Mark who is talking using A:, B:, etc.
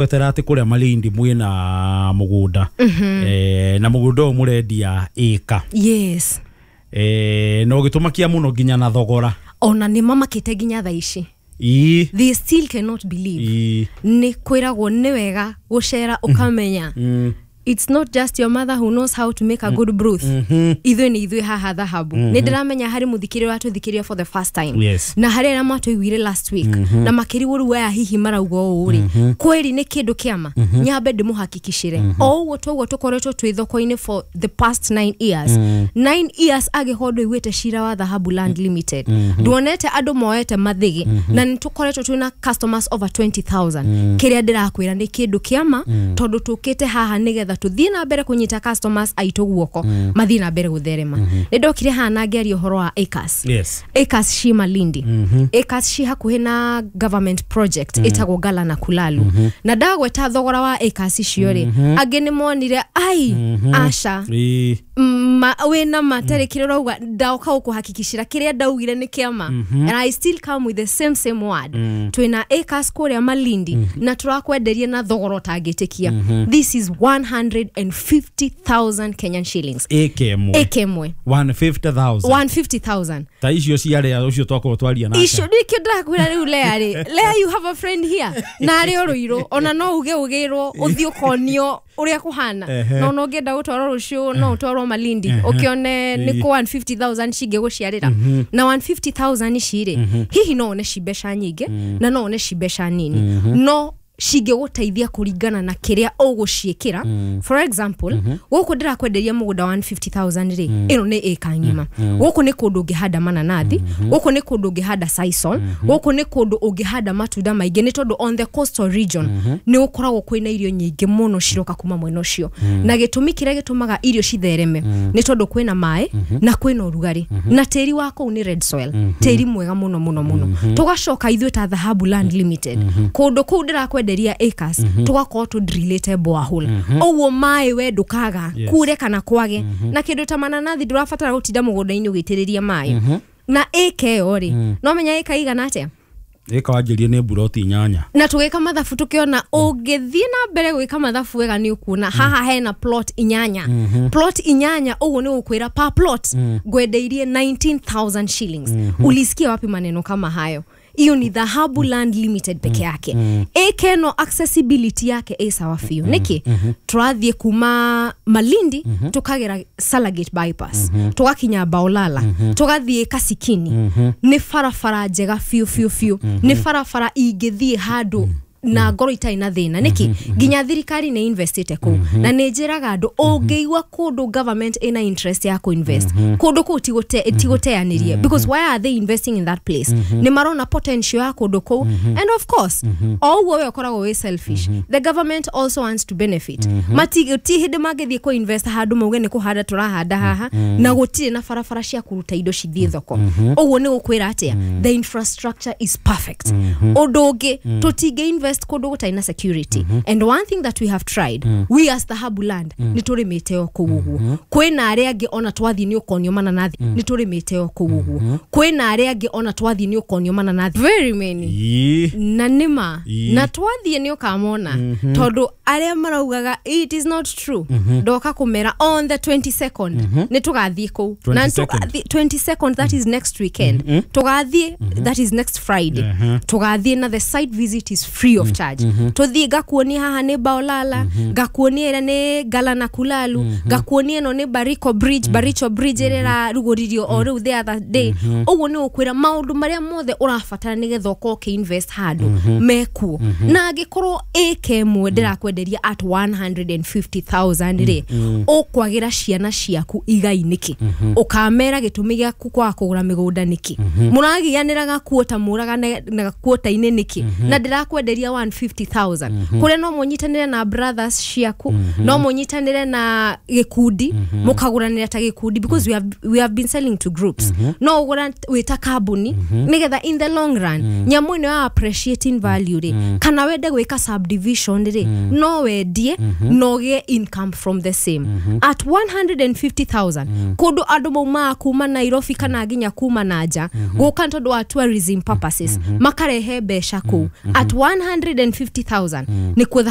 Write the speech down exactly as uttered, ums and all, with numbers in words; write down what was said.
A: Gwetera atĩ kũrĩa Malindi mwĩna mũgũnda, eh, na mũgũnda ũyũ mũrendia ĩka.
B: Yes.
A: eh, na ũgĩtũmakia mũno nginya na thogora.
B: Ona nĩ mamakĩte nginya thaa ici.
A: Ii.
B: They still cannot believe.
A: Ii.
B: Nĩ kwĩragwo nĩ wega gũcera ũkamenya
A: Mm.
B: it's not just your mother who knows how to make a good broth. Ithuĩ nĩ ithuĩ haha Dhahabu. Nĩ ndĩramenya harĩ mũthikĩrĩria watũthikĩrĩria for the first time,
A: Yes.
B: na harĩ arĩa matũiguire last week na makĩrigwo rĩu aya hihi marauga ũũ rĩ, kweri nĩ kĩndũ kĩama. Nyambe ndĩmũhakikicĩre o ũguo toguo tũkoretwo twĩ thoko-inĩ for the past nine years, nine years, angĩkorwo ndũiguĩte cira wa Dhahabu Land Limited, nduonete andũ moete mathĩgĩ, na nĩ tũkoretwo twĩna customers over twenty thousand. Kĩrĩa ndĩrakwĩra nĩ kĩndũ kĩama, tondũ tũkĩte haha nĩgetha tũthiĩ na mbere kũnyita customers aitũ guoko mathiĩ na mbere gũtherema. Nĩ ndokire haha na ngĩaria ũhoro wa acres.
A: Yes.
B: Acres ci Malindi, acres ci hakuhĩ na government project ĩtagwo Gala na Kulalu, na ndagweta thogora wa acres icio rĩ, angĩ nĩ monire ai aca.
A: Ii.
B: Ma, wĩna matarĩ kĩrĩa ũrauga. Ndoka gũkũhakikicĩra kĩrĩa ndaugire nĩ kĩama, and I still come with the same same word. Twĩna acres kũrĩa Malindi na tũrakwenderia na thogora ũtangĩtĩkia. This is one hundred fifty thousand Kenyan shillings.
A: Ĩka ĩmwe.
B: Ĩka ĩmwe.
A: one hundred fifty thousand.
B: one hundred fifty thousand.
A: Ta icio ciarĩa ũcio twakorwo twaria nake.
B: Icio nĩkĩo ndĩrakwĩra rĩu. Lea rĩ, Lea, you have a friend here na arĩ o Rũirũ, ona no uge ũgĩrwo ũthiĩ ũkonio ũrĩa kũhana.
A: Ehe.
B: Na ona ũngĩenda gũtwarwo rũciũ no ũtwarwo Malindi ũkĩone nĩ kũ one hundred fifty thousand cingĩgũciarĩra. Na one hundred fifty thousand ici rĩ, hihi no one ci mbeca nyingĩ na no one ci mbeca nini, no cingĩgũteithia kũringana na kĩrĩa ũgũciĩkĩra. For example, gũkũ ndĩrakwenderia mũgũnda one hundred fifty thousand rĩ, ĩno nĩ ĩka ng'ima. Gũkũ nĩ kũndũ ũngĩhanda mananathi, gũkũ nĩ kũndũ ũngĩhanda sisal, gũkũ nĩ kũndũ ũngĩhanda matunda maingĩ, nĩ tondũ on the coastal region nĩ gũkoragwo kwĩna irio nyingĩ mũno ciroka kuma mwena ũcio. Na gĩtũmi kĩrĩa gĩtũmaga irio cithereme nĩ tondũ kwĩna maĩ na kwĩna ũrugarĩ na tĩri wa kũu nĩ red soil, tĩri mwega mũno mũno mũno. Tũgacoka ithuĩ ta Dhahabu Land Limited, kũndũ kũu ndĩrakwenderia acres, tũgakorwo tũdrillĩte borehole, ũguo maĩ we ndũkaga
A: Yes.
B: kure kana kwage. Na kĩndũ ta mananathi ndũrabatara gũtinda mũgũnda-inĩ ũgĩitĩrĩria maĩ. Na ĩka ĩyo rĩ, no menya ĩka igana atĩa?
A: Ĩka wanjĩrie nĩ mburoti inyanya.
B: Na tũgĩka mathabu tũkĩona ũngĩthiĩ na mbere gwĩka mathabu wega nĩ ũkuona haha hena plot inyanya, plot inyanya. Ũguo nĩ gũkwĩra per plot ngwendeirie nineteen thousand shillings. Ulisikia wapi maneno kama hayo? Hiyo ni Dhahabu Land Limited peke yake. Ĩka ĩno accessibility yake ĩ sawa biũ. Nĩkĩ tũrathiĩ kuma Malindi, tũkagera Salagate bypass, tũgakinya Baolala, tũgathiĩ Kasikini. Nĩ barabara njega biũ biũ biũ, nĩ barabara ingĩthiĩ handũ na ngoro itarĩ na thĩna. Nĩkĩ nginya thirikari nĩ investite kũu, na nĩ njĩraga andũ ũngĩigua kũndũ government ĩna interest ya kũinvest kũndũ kũu, ti gũte- ti gũteanĩrie, because why are they investing in that place? Nĩ marona potential ya kũndũ kũu, and of course o ũguo we ũkoragwo wĩ selfish, the government also wants to benefit. Mati ti hĩndĩ mangĩthiĩ kũ-invest handũ mauge nĩ kũhanda tũrahanda haha na gũtirĩ na barabara cia kũruta indo cithiĩ thoko. Ũguo nĩ gũkwĩra atĩa? The infrastructure is perfect. Ũndũ ũngĩ, tũtingĩ invest kũndũ gũtarĩ na security, and one thing that we have tried, we as Dhahabu Land, nĩ tũrĩmĩte o kũu ũguo. Kwĩna arĩa angĩ ona twathiĩ nĩ ũkonio mananathi. Nĩ tũrĩmĩte o kũu ũguo. Kwĩna arĩa angĩ ona twathiĩ nĩ ũkonio mananathi, very many.
A: Ii.
B: Na nĩma.
A: Ii.
B: Na twathiĩ nĩ ũkamona, tondũ arĩa maraugaga it is not true, ndoka kũmera on the twenty-second nĩ tũgathiĩ kũu na
A: twenty-second.
B: tũgathiĩ twenty-second, that is next weekend. Tũgathiĩ, that is next Friday. Tũgathiĩ na the site visit is free of charge. Tũthiĩ ngakuonia haha nĩ Baolala, ngakuonia ĩrĩa nĩ Gala na Kulalu, ngakuonia ĩno nĩ Bariko Bridge, Baricho Bridge ĩrĩa ĩrarugũririo o rĩu the other day. Ũguo nĩ gũkwĩra maũndũ marĩa mothe ũrabatara nĩgetha ũkorwo ũkĩinvest handũ mekuo. Na angĩkorwo ĩka ĩmwe ndĩrakwenderia at one hundred fifty thousand rĩ, ũkwagĩra ciana ciaku igai nĩkĩ? Ũkamera gĩtũmi gĩaku kwaga kũgũra mĩgũnda nĩkĩ? Mũragianĩra gakuota mũragane na gakuota-inĩ nĩkĩ? Na ndĩrakwenderia one hundred fifty thousand kũrĩa no mũnyitanĩre na brothers ciaku, no mũnyitanĩre na gĩkundi, mũkagũranĩra ta gĩkundi, because we have, we have been selling to groups. No ũgũra wĩ ta kambuni nĩgetha in the long run nyamũ ĩno ya appreciating value rĩ, kana wende gwĩka subdivision rĩ, no wendie na ũgĩe income from the same at one hundred fifty thousand. Kũndũ andũ maumaga kuma Nairobi kana nginya kuma na nja gũka nĩ tondũ wa tourism purposes, makarehe mbeca kũu at hundred and fifty thousand nĩkuo thahabu.